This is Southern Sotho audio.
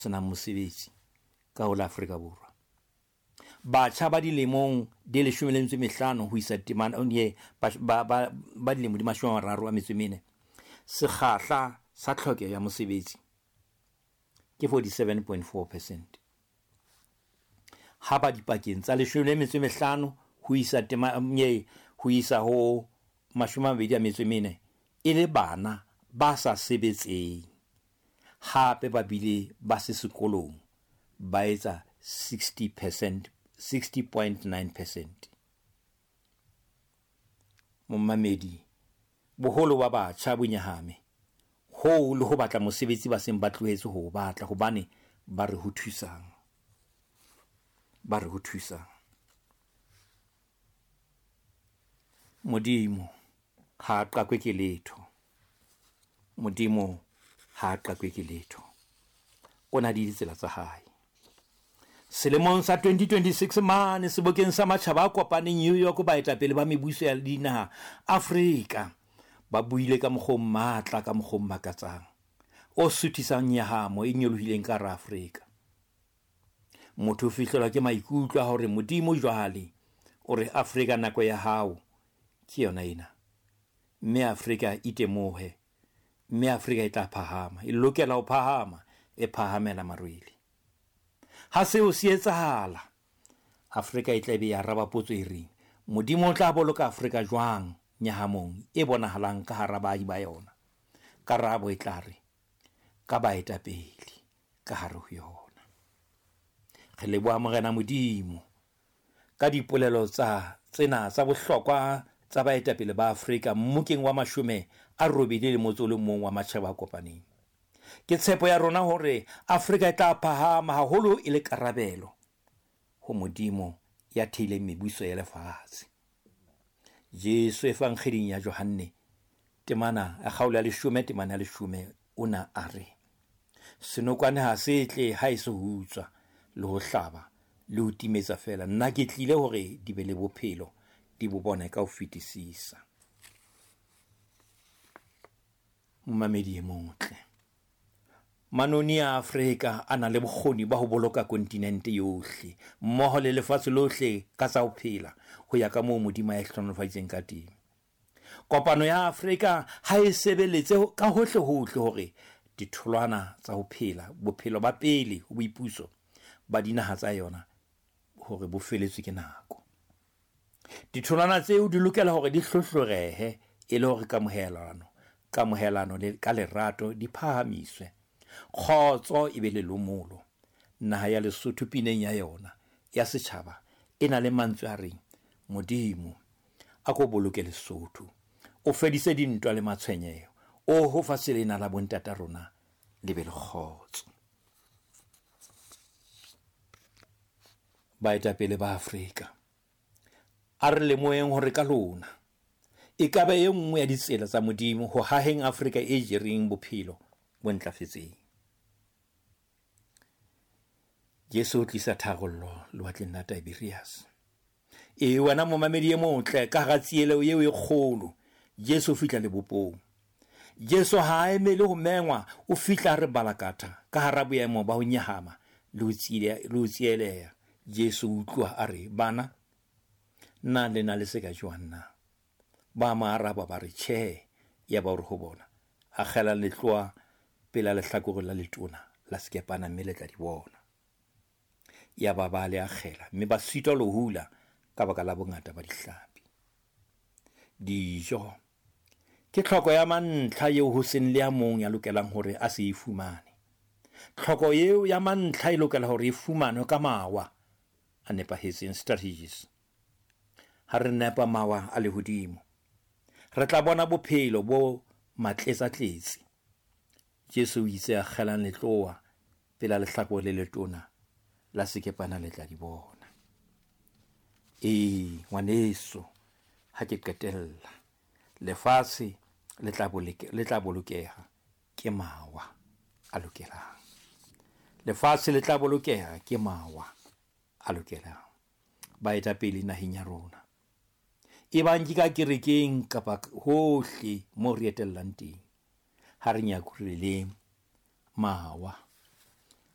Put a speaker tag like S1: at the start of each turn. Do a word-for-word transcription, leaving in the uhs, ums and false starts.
S1: Senang mosebetsi ka ho la Afrika Borwa. Batjha ba dilemong di leshome le metso e mehlano ho isa temana ba, ba, ba, ba dilemo di mashome a mararo a metso e mene, sekgahla sa tlhokeho ya mosebetsi ke forty-seven point four percent. Ha ba dipakeng tsa leshome le metso e mehlano ho isa tema, nye, ho isa ho mashome a mabedi a metso e mene, e le bana ba sa sebetseng, hape ba bile ba se sekolong, ba etsa sixty percent, sixty point nine percent. Momamedi, boholo ba batjha bo nyahame hoo le ho batla mosebetsi ba seng ba tlohetse ho o batla, hobane ba re ho thusang, ba re ho thusang. Modimo ha a qakwe ke letho. Modimo ha a qakwe ke letho. O na le ditsela tsa hae. Selemong sa twenty twenty-six mane sebokeng sa matjhaba a kopaneng New York, baetapele ba mebuso ya dinaha Afrika ba buile ka mokgwa o matla, ka mokgwa o makatsang, o suthisang nyahamo e nyolohileng ka hara Afrika. Motho o fihlelwa ke maikutlo a hore Modimo jwale o re Afrika nako ya hao ke yona ena, mme Afrika itemohe, mme Afrika e tla phahama, e lokela ho phahama, e phahamela marwele. Ha seo se etsahala, Afrika e tla be ya araba potso e reng, Modimo o tla boloka Afrika jwang nyahamong e bonahalang ka hara baahi ba yona? Karabo e tla re, ka baetapele ka hare ho yona. Re leboha Morena Modimo ka dipolelo tsa tsena tsa bohlokwa tsa baetapele ba Afrika mmokeng wa mashome a robedi le motso o le mong wa matjhaba a kopaneng. Ke tshepo ya rona hore Afrika e tla phahama haholo e le karabelo ho Modimo ya theileng mebuso ya lefatshe. Jesu Evangeding ya Johanne temana ya kgaolo ya leshome temana ya leshome o na a re, senokwane ha se tle ha e se ho utswa le ho hlaba le ho timetsa feela, nna ke tlile hore di be le bophelo, di bo bone ka ho fetisisa. Momamedi e motle, manoni a Afrika a na le bokgoni ba ho boloka kontinente yohle mmoho le lefatshe lohle ka tsa ho phela ho ya ka moo Modimo a e hlohonolofaditseng ka teng. Kopano ya Afrika ha e sebeletse ka hohle hohle hore ditholwana tsa ho phela bophelo ba pele ho boipuso ba dinaha tsa yona hore bo feletswe ke nako. Ditholwana tseo di lokela hore di hlohlorehe e le hore kamohelano, kamohelano le ka lerato di phahamiswe, kgotso e be le lomolo. Naha ya Lesotho pineng ya yona ya setjhaba e na le mantswe a reng, Modimo a ko boloke Lesotho, o fedise dintwa le matshwenyeho, o ho fatshe lena la bontata rona le be le kgotso. Baetapele ba Afrika, a re lemoheng hore ka lona e ka ba e nngwe ya ditsela tsa Modimo ho haheng Afrika e jereng bophelo bo ntlafetseng. Jesu o tlisa tharollo lewatleng la Tiberias. E wena momamedi e motle, ka hara tsieleho eo e kgolo, Jesu o fihla lebopong. Jesu ha a emele ho mengwa, o fihla re balakatha ka hara boemo ba ho nyahama le ho tsieleha. Jesu o utlwa a re, bana, na le na le se ka jwang na? Ba mo araba ba re, tjhe. Ya ba hore ho bona, akgela letloa pela lehlakore la letona la sekepana mme le tla di bona. Ya ba ba le akgela mme ba sitwa le ho hula ka baka la bongata ba dihlapi. Dijo ke tlhoko ya mantlha eo ho seng le ya mong ya lokelang hore a se e fumane. Tlhoko eo ya mantlha e lokela hore e fumanwe ka mawa a nepahetseng, strategies. Ha re nepa mawa a lehodimo, re tla bona bophelo bo matletsatletse. Jesu o itse akgelang letloa pela lehlakore le letona la sekepana le tla di bona. Ee, ngwaneso, ha ke qetella, lefatshe le tla boloke, le tla bolokeha ke mawa a lokelang. Lefatshe le tla bolokeha ke mawa a lokelang. Baetapele naheng ya rona, e bang ke ka kerekeng kapa hohle moo re etellang teng, ha re nyakureleng mawa.